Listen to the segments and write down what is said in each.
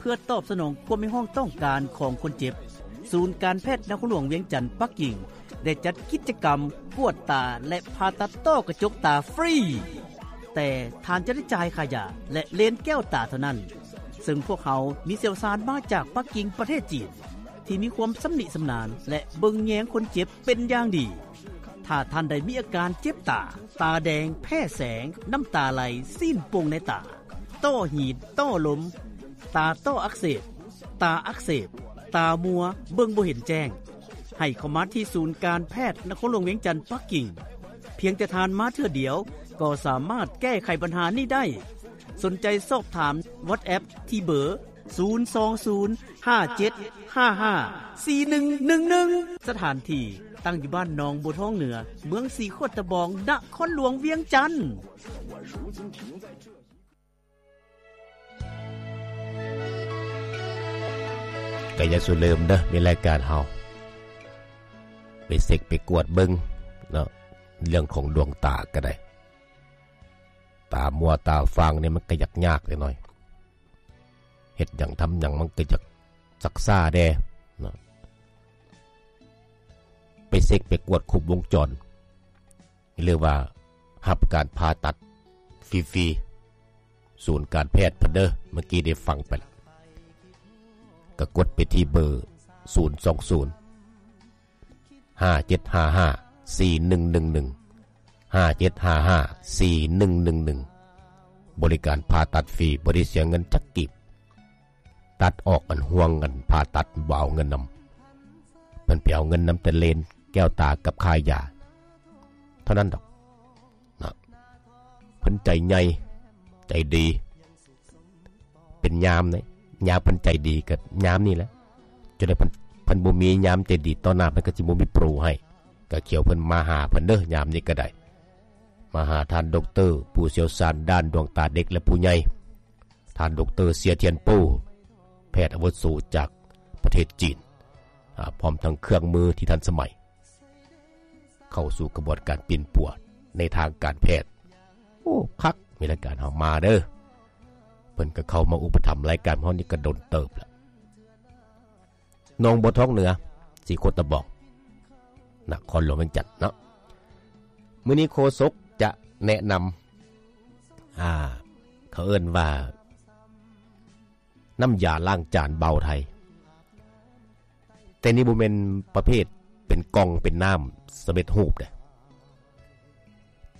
ເພື່ອຕອບສະໜອງຄວາມຮຽກຮ້ອງຕ້ອງການຂອງຄົນເຈັບ, ສູນການແພດນະຄອນຫຼວງວຽງຈັນປັກກິ່ງ ໄດ້ຈັດກິດຈະກຳກວດຕາ ແລະ ຜ່າຕັດຕ້ອກະຈົກຕາຟຣີ ແຕ່ທ່ານຈະໄດ້ຈ່າຍຄ່າຢາ ແລະ ເລນແກ້ວຕາເທົ່ານັ້ນ, ເຊິ່ງພວກເຮົາມີຊ່ຽວຊານມາຈາກປັກກິ່ງປະເທດຈີນ ທີ່ມີຄວາມຊຳນິຊຳນານ ແລະ ເບິ່ງແຍງຄົນເຈັບເປັນຢ່າງດີ. ຖ້າທ່ານໃດມີອາການເຈັບຕາ, ຕາແດງ, ແພ້ແສງ, ນ້ຳຕາໄຫຼ, ຊີ້ນໂປ່ງໃນຕາ, ຕ້ອຫີນ, ຕ້ອລົມ, ຕາຕ້ອອັກເສບ, ຕາອັກເສບ, ຕາມົວ, ເບິ່ງບໍ່ເຫັນແຈ້ງ, ໃຫ້ເຂົ້າມາທີ່ສູນການແພດນະຄອນຫຼວງວຽງຈັນປັກກິ່ງ. ພຽງແຕ່ທ່ານມາເທື່ອດຽວ ກໍສາມາດແກ້ໄຂບັນຫານີ້ໄດ້. ສົນໃຈສອບຖາມ WhatsApp ທີ່ເບີ ສູນສອງສູນ ຫ້າເຈັດຫ້າຫ້າ ສີ່ໜຶ່ງໜຶ່ງໜຶ່ງ. ສະຖານທີ່ຕັ້ງຢູ່ບ້ານໜອງບົວທອງເໜືອ, ເມືອງສີໂຄດຕະບອງ, ນະຄອນຫຼວງວຽງຈັນ. ກໍຢ່າສູ່ລືມເດີ ມີລາຍການເຮົາໄປເຊັກໄປກວດເບິ່ງເນາະ, ເລື່ອງຂອງດວງຕາກໍໄດ້, ຕາມົວຕາຟາງນີ້ມັນກໍຢາກຍາກໜ້ອຍ, ເຮັດຫຍັງທຳຫຍັງມັນກໍຢາກຊັກຊ້າແດ່ເນາະ. ໄປເຊັກໄປກວດຄົບວົງຈອນ ຫຼືວ່າຮັບການຜ່າຕັດຟຣີໆ ສູນການແພດເພິ່ນເດີ. ເມື່ອກີ້ໄດ້ຟັງໄປລະ ກໍກົດໄປທີ່ເບີ ສູນສອງສູນ ຫ້າເຈັດຫ້າຫ້າ ສີ່ໜຶ່ງໜຶ່ງໜຶ່ງ ຫ້າເຈັດຫ້າຫ້າ ສີ່ໜຶ່ງໜຶ່ງໜຶ່ງ. ບໍລິການຜ່າຕັດຟຣີ ບໍ່ໄດ້ເສຍເງິນຈັກກີບ. ຕັດອອກອັນຫ່ວງອັນຜ່າຕັດ ບໍ່ເອົາເງິນນຳ, ເພິ່ນໄປເອົາເງິນນຳແຕ່ເລນແກ້ວຕາກັບຄ່າຢາເທົ່ານັ້ນດອກເນາະ. ເພິ່ນໃຈໃຫຍ່ໃຈດີ ເປັນຍາມເດ້, ຍາມເພິ່ນໃຈດີກໍຍາມນີ້ແຫຼະ. ຈົນໄດ້ເພິ່ນ, ເພິ່ນບໍ່ມີຍາມໃຈດີຕໍ່ໜ້າ, ເພິ່ນກໍຊິບໍ່ມີໂປຣໃຫ້. ກໍຂຽວເພິ່ນມາຫາເພິ່ນເດີ, ຍາມນີ້ກໍໄດ້ມາຫາທ່ານດັອກເຕີ ຜູ້ຊ່ຽວຊານດ້ານດວງຕາເດັກ ແລະ ຜູ້ໃຫຍ່. ທ່ານ ດຣ. ເຊຍ ທຽນໂປ້ ແພດອາວຸໂສຈາກປະເທດຈີນ, ອາ, ພ້ອມທັງເຄື່ອງມືທີ່ທັນສະໄໝ ເຂົ້າສູ່ຂະບວນການປິ່ນປົວໃນທາງການແພດ. ໂອ້ ຄັກ, ມີລາຍການເຮົາມາເດີ. ເພິ່ນກໍເຂົ້າມາອຸປະຖຳລາຍການເຮົານີ້ກໍດົນເຕີບລະ. ໜອງບົວທອງເໜືອ, ສີໂຄດຕະບອງ, ນະຄອນຫຼວງວຽງຈັນເນາະ. ມື້ນີ້ໂຄສົກຈະແນະນຳ, ອ່າ, ເຂົາເອີ້ນວ່າ ນ້ຳຢາລ້າງຈານບ່າວໄທ, ແຕ່ນີ້ບໍ່ແມ່ນປະເພດເປັນກ່ອງເປັນນ້ຳສຳເລັດຮູບເດ້,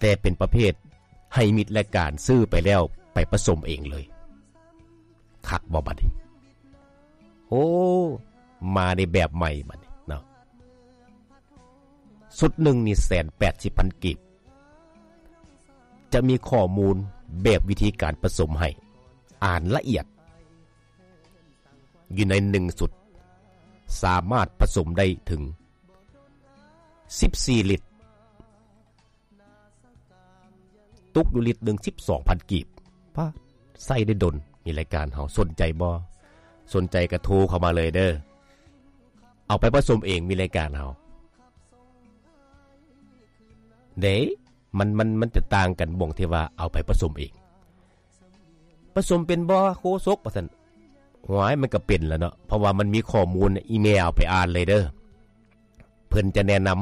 ແຕ່ເປັນປະເພດໃຫ້ມິດລາຍການຊື້ໄປແລ້ວໄປປະສົມເອງເລີຍ. ຄັກບໍ່ບັດນີ້? ໂອ້ ມາໃນແບບໃໝ່ບັດນີ້ເນາະ. ຊຸດໜຶ່ງນີ້ແສນແປດສິບພັນກີບ, ຈະມີຂໍ້ມູນແບບວິທີການປະສົມໃຫ້ອ່ານລະອຽດ. ຢູ່ໃນໜຶ່ງຊຸດ ສາມາດປະສົມໄດ້ເຖິງສິບສີ່ລິດ, ຕົກຢູ່ລິດໜຶ່ງສິບສອງພັນກີບ. ປາດ, ໃຊ້ໄດ້ດົນ. ມີລາຍການເຮົາສົນໃຈບໍ່? ສົນໃຈກໍໂທເຂົ້າມາເລີຍເດີ. ເອົາໄປປະສົມເອງ, ມີລາຍການເຮົາເດ້. ມັນ, ມັນ, ມັນຈະຕ່າງກັນບ່ອນທີ່ວ່າເອົາໄປປະສົມເອງ. ປະສົມເປັນບໍ່ໂຄສົກ? ວ່າຊັ້ນ. ໂອ້ຍ, ມັນກໍເປັນແລ້ວເນາະ, ເພາະວ່າມັນມີຂໍ້ມູນ, ອີແມ່ເອົາໄປອ່ານເລີຍເດີ. ເພິ່ນຈະແນະນຳ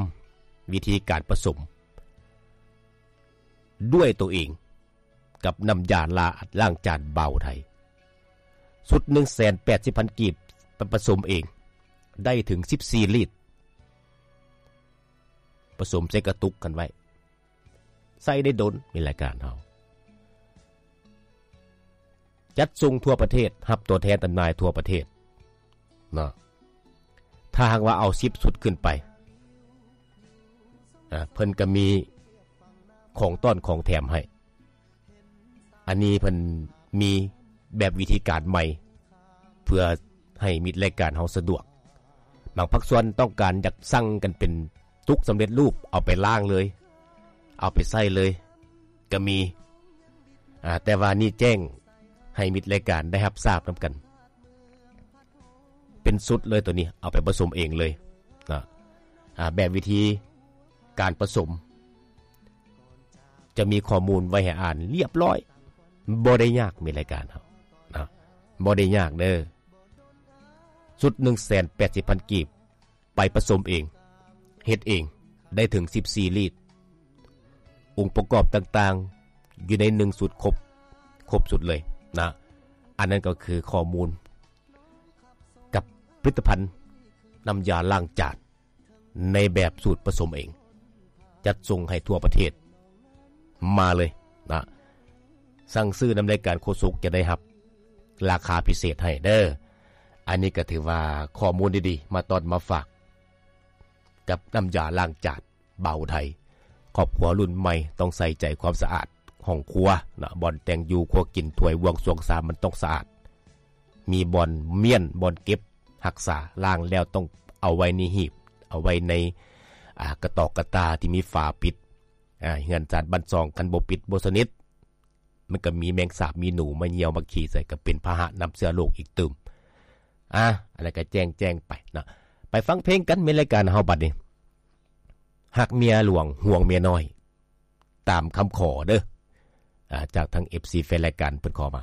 ວິທີການປະສົມດ້ວຍຕົວເອງ ກັບນ້ຳຢາລ້າ, ລ້າງຈານບ່າວໄທ. ຊຸດໜຶ່ງແສນແປດສິບພັນກີບ, ໄປປະສົມເອງ, ໄດ້ເຖິງສິບສີ່ລິດ. ປະສົມໃສ່ກະຕຸກກັນໄວ້, ໃຊ້ໄດ້ດົນ. ມີລາຍການເຮົາຈັດສົ່ງທົ່ວປະເທດ, ຮັບຕົວແທນຈຳໜ່າຍທົ່ວປະເທດເນາະ. ຖ້າຫາກວ່າເອົາສິບຊຸດຂຶ້ນໄປ, ອາ, ເພິ່ນກໍມີຂອງຕ້ອນຂອງແຖມໃຫ້. ອັນນີ້ເພິ່ນມີແບບວິທີການໃໝ່ ເພື່ອໃຫ້ມິດລາຍການເຮົາສະດວກ. ບາງພາກສ່ວນຕ້ອງການຢາກສັ່ງກັນເປັນຕຸກສຳເລັດຮູບ, ເອົາໄປລ້າງເລີຍ, ເອົາໄປໃສ່ເລີຍກໍມີ. ອາ, ແຕ່ວ່ານີ້ແຈ້ງໃຫ້ມິດລາຍການໄດ້ຮັບຊາບນຳກັນ. ເປັນຊຸດເລີຍໂຕນີ້, ເອົາໄປປະສົມເອງເລີຍນະ. ອາ, ແບບວິທີການປະສົມ ຈະມີຂໍ້ມູນໄວ້ໃຫ້ອ່ານລຽບລ້ອຍ, ບໍ່ໄດ້ຍາກ. ມີລາຍການເຮົານະ, ບໍ່ໄດ້ຍາກເດີ ຊຸດໜຶ່ງແສນແປດສິບພັນກີບ ໄປປະສົມເອງ ເຮັດເອງ ໄດ້ເຖິງສິບສີ່ລີດ ອົງປະກອບຕ່າງໆ ຢູ່ໃນໜຶ່ງຊຸດຄົບ ຄົບຊຸດເລີຍນະ. ອັນນັ້ນກໍຄືຂໍ້ມູນກັບຜະລິດຕະພັນນ້ຳຢາລ້າງຈານ ໃນແບບສູດປະສົມເອງ ຈັດສົ່ງໃຫ້ທົ່ວປະເທດ ມາເລີຍນະ. ສັ່ງຊື້ນຳລາຍການໂຄສົກ ຈະໄດ້ຮັບລາຄາພິເສດໃຫ້ເດີ. ອັນນີ້ກໍຖືວ່າຂໍ້ມູນດີໆ ມາຕ້ອນມາຝາກ ກັບນ້ຳຢາລ້າງຈານບ່າວໄທ. ຄອບຄົວລຸ້ນໃໝ່ຕ້ອງໃສ່ໃຈຄວາມສະອາດຫ້ອງຄົວນະ, ບ່ອນແຕ່ງຢູ່ຄົວກິນ ຖ້ວຍບ່ວງຊ່ວງຊາມມັນຕ້ອງສະອາດ. ມີບ່ອນມ້ຽນ ບ່ອນເກັບຮັກສາ, ລ້າງແລ້ວຕ້ອງເອົາໄວ້ໃນຫີບ, ເອົາໄວ້ໃນ ອາ ກະຕອກກະຕາທີ່ມີຝາປິດ. ອາ ເຮືອນຊານບ້ານຊ່ອງ ຄັນບໍ່ປິດບໍ່ສະໜິດ ມັນກໍມີແມງສາບມີໜູມາຍ່ຽວມາຂີ້ໃສ່ ກໍເປັນພາຫະນຳເຊື້ອໂລກອີກຕື່ມ. ອາ ອັນນັ້ນກໍແຈ້ງ ແຈ້ງໄປເນາະ. ໄປຟັງເພງກັນ ແມ່ນລາຍການເຮົາບັດນີ້ ຮັກເມຍຫຼວງ ຫວງເມຍນ້ອຍ ຕາມຄຳຂໍເດີ. ອາ ຈາກທາງເອັຟຊີແຟນລາຍການເພິ່ນຂໍມາ.